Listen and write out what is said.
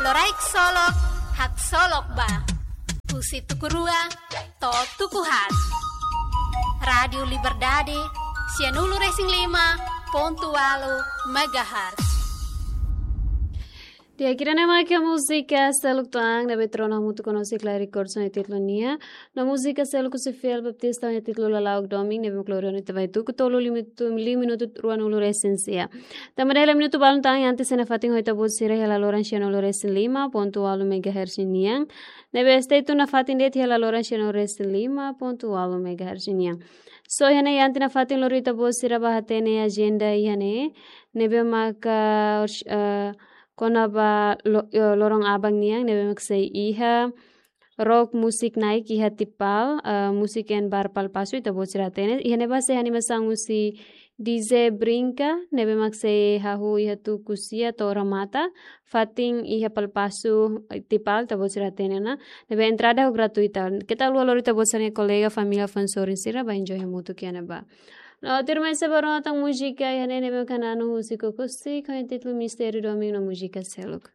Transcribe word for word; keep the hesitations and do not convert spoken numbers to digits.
Loraik solok, haksolok ba. Husi tuku rua to'o tuku haat. Rádiu Liberdade, sianulu-resin-lima pontu ualu megahertz. Di'ak, ida-ne'e mak múzika seluk tan ne'ebé trono hamutuk ho Claire Corson iha títulu nian. No múzika seluk husi Fiel Baptista iha títulu Lala'ok Domin, ne'ebé mak lori ona ita ba iha tuku tolu, lima minutu, lima minutu ruanulu-resin-sia. Tanba dala minutu balun tan, antes nafatin ho ita-boot sira iha laloran sianulu-resin-lima pontu ualu megahertz nian. Ne'ebé stay tune nafatin de'it iha laloran sianulu-resin-lima pontu ualu megahertz nian. So, iha ne'e antes nafatin lori ita-boot sira ba hatene ajenda iha ne'e. Ne'ebé maka, eh, kona-ba lo-, eh, loron aban nian, ne'ebé mak sei iha rock musik na'in iha Tipal, eh, Music and Bar Palpasu, ita-boot sira hatene. Iha ne'ebá sei animasaun husi D J Brinka, ne'ebé mak sei hahú iha tuku sia to'o remata, fatin iha Palpasu, eh, Tipal, ita-boot sira hatene ona. Ne'ebé entrada ho gratuita. Keta haluha lori ita-boot sira-nia kolega, família, fans sorin sira, ba enjoy hamutuk iha ne'ebá. No, tuirmai sei ba rona tan múzika iha ne'e, ne'ebé mak hananu husi Kokosi, ho títulu Mistériu Domin no múzika seluk.